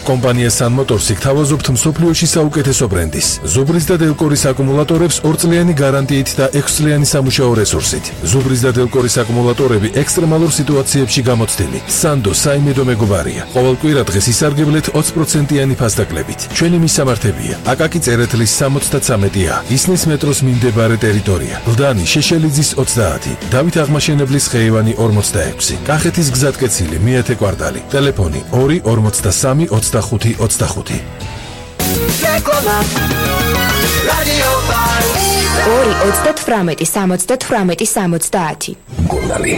კომპანია Sun Motors გთავაზობთ მსოფლიოში საუკეთესო ბრენდის. ზუბრის და დელკორის აკუმულატორებს 2 წლიანი გარანტიით და 6 წლიანი სამუშაო რესურსით. ზუბრის და დელკორის აკუმულატორები ექსტრემალურ სიტუაციებში გამოცდილი. Sando საიმედო მეგობარია. ყოველ კვირა დღეს ისარგებლეთ 20%-იანი ფასდაკლებით. ჩვენი მისამართებია: აკაკი წერეთლის 73-ა, ისნის მეტროს მიმდებარე ტერიტორია, ლდანი შეშელიძის 30, დავით აღმაშენებლის ხეივანი 46, კახეთის გზატკეცილი მეათე კვარტალი, ტელეფონი 2 43 25 25. 2-38-70. მკურნალი.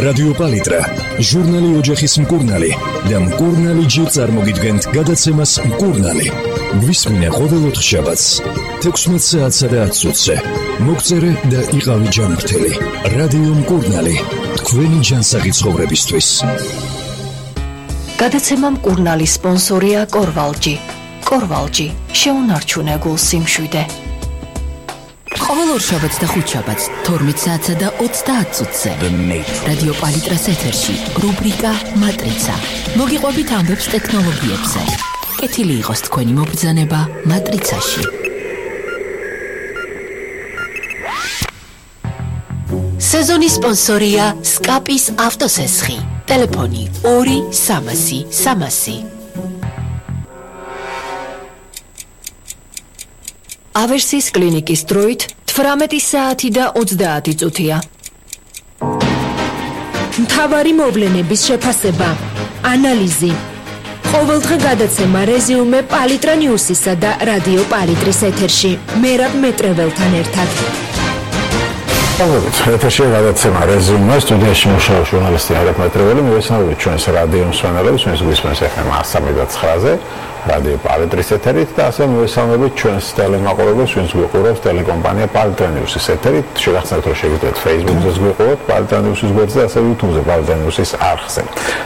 რადიო პალიტრა, ჟურნალი ოჯახის მკურნალი და მკურნალი ჯერ წარმოგიდგენთ გადაცემას მკურნალი. გვისმინე ყოველ 4 შაბათს 16 საათსა და 10 წუთზე. მოგწერე და იყავი ჯანმრთელი. რადიო მკურნალი, თქვენი ჯანსაღი ცხოვრებისთვის. გადაცემა მკურნალი სპონსორია კორვალჯი. კორვალჯი, შეუნარჩუნე გულს სიმშვიდე. ყოველ ორშაბათს და ხუთშაბათს 12 საათსა და 30 წუთზე. რადიო პალიტრას ეთერში რუბრიკა მატრიცა. მოგიყვებით ამბებს ტექნოლოგიებზე. კეთილი იყოს თქვენი მობრძანება მატრიცაში. სეზონის სპონსორია სკაპის ავტოსესხი. ტელეფონი 2 300 300. ავერსის კლინიკის დროით 18 საათი და 30 წუთია. მთავარი მოვლენების შეფასება, ანალიზი. ყოველდღე გადაცემა რეზიუმე პალიტრა ნიუსისა და რადიო პალიტრის ეთერში. მერაბ მეტრეველთან ერთად. ეთერში გადაცემა რეზიუმე, სტუდიაში მუშაობს ჟურნალისტი მერაბ მეტრეველი. მივესალმებით ჩვენს რადიო მსმენელებს, ჩვენს გვისმენს FM 103-ზე. რადიო პალიტრის ეთერით და ასევე მივესალმებით ჩვენს ტელემაყურებელს, ვინც გვიყურებს ტელეკომპანია პალიტრა ნიუსის ეთერით. შეგახსენებთ, რომ შეგიძლიათ Facebook-ზე გვიყუროთ პალიტრა ნიუსის გვერდზე, ასევე YouTube-ზე პალიტრა ნიუსის არხზე.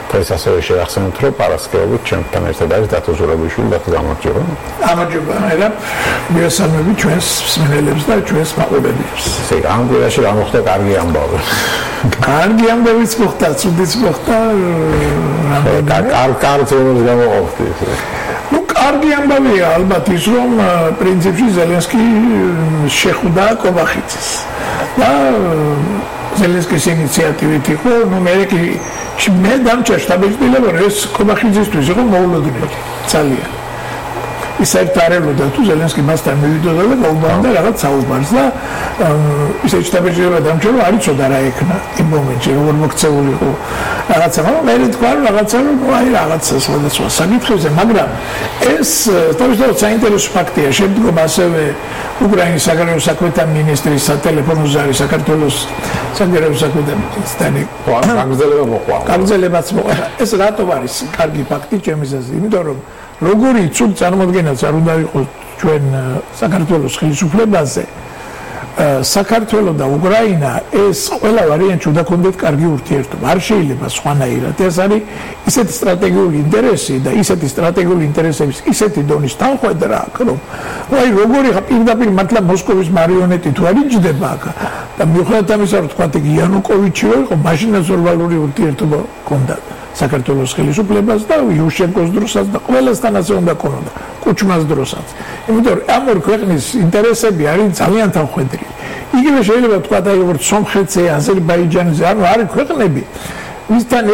დღეს ასევე შეგახსენებთ, რომ პარასკევობით ჩვენთან ერთად არის დათო ზურაბიშვილი. დათო, გამარჯობა. გამარჯობა, მერაბ. მივესალმებით ჩვენს მსმენელებს და ჩვენს მაყურებელს. ამ კვირაში რა მოხდა? კარგი ამბავი. კარგი ამბავიც მოხდა, ცუდიც მოხდა. კარგ ზონას გამოყოფდი. კარგი ამბავია ალბათ ის, რომ პრინციპში ზელენსკი შეხვდა კობახიძეს და ზელენსკის ინიციატივით იყო, მე დამჭერ შტაბ-ბიჭდილება, რომ ეს კობახიძისთვის იყო მოულოდნელი ძალიან. ის საერთოდ თუ ზელენსკი მასთან მივიდოდა და გაუბანდა რაღაც საუბარს და ისე შტაბ-ბიჭდილება დამჭერ, რომ არ იცოდა რა ეკნა იმ მომენტში, როგორ მოქცეული იყო რაღაცა, მე თქვა რომ რაღაცა, რაღაცა სხვადასხვა საკითხებზე, მაგრამ ეს თავისთავად საინტერესო ფაქტია. შემდგომ ასევე უკრაინის საგარეო საქმეთა მინისტრის სატელეფონო ზარი საქართველოს საგარეო საქმეთა მინისტრთან გაგრძელებაც მოყვა. ეს რატომ არის კარგი ფაქტი ჩემს აზრით? იმიტომ რომ როგორი ცუდ წარმოდგენაც არ უნდა იყოს ჩვენ საქართველოს ხელისუფლებაზე, საქართველო და უკრაინა ეს ყველა ვარიანტში უნდა ქონდეთ კარგი ურთიერთობა. არ შეიძლება სხვანაირად. ეს არის ისეთი სტრატეგიული ინტერესი და ისეთი სტრატეგიული ინტერესების ისეთი დონის თანხმობა, რომ აი როგორი პირდაპირ მართლა მოსკოვის მარიონეტი თუ არ იჯდება და მიუხედავად ამისა, რომ თქვა იანუკოვიჩი იყო, მაშინაც ნორმალური ურთიერთობა ჰქონდა საქართველოს ხელისუფლებას და იუშენკოს დროსაც და ყველასთან ასე უნდა ქონოდა, კუჩმას დროსაც. იმიტომ რომ ამ ორ ქვეყნის ინტერესები არის ძალიან თანხმდები. იგივე შეიძლება თქვა და როგორც სომხეთზე, აზერბაიჯანზე, ანუ არის ქვეყნები, ვისთან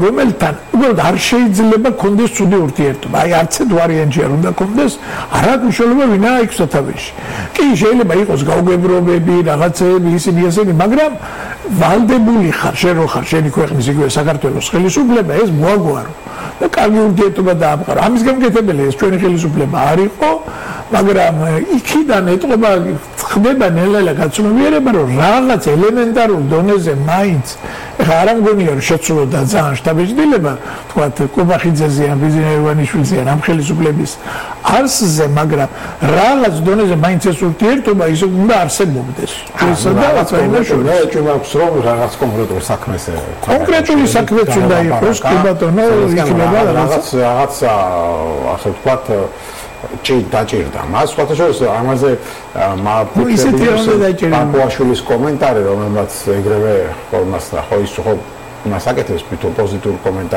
რომელთან უბრალოდ არ შეიძლება ქონდეს ცუდი ურთიერთობა. აი არც ერთ ვარიანტში არ უნდა ქონდეს, არ აქვს მნიშვნელობა ვინაა იქ სათავეში. კი შეიძლება იყოს გაუგებრობები, რაღაცები, ისინი ესენი, მაგრამ ვალდებული ხარ, შენ რო ხარ შენი ქვეყნის იგივე საქართველოს ხელისუფლება, ეს მოაგვარო და კარგი ურთიერთობა დაამყარო. ამის გამკეთებელი ეს ჩვენი ხელისუფლება არ იყო, მაგრამ იქიდან ეტყობა ხდება ნელა გაცნობიერება, რომ რაღაც ელემენტარულ დონეზე მაინც ეხლა არ მგონია რომ შეცვლოდა ძალიან შტაბ-ბიჭდილება, თქვა კობახიძეზე ან ბიზნესმენიშვილზე ან ამ ხელისუფლების არსზე, მაგრამ რაღაც დონეზე მაინც ეს ურთიერთობა ისე უნდა არსებობდეს. სადაც იმაშია, ეჭვმაქვს რომ რაღაც კონკრეტულ საქმეს კონკრეტული საქმეც უნდა იყოს, კი ბატონო, იქნება რაღაც ასე ვთქვათ დაჭირდა. მას სხვათაშორის ამაზე მაპუაშვილის კომენტარი, რომელმაც ეგრევე ხოლმე ხო ის ხო მას აკეთებს თვითონ პოზიტურ კომენტარს.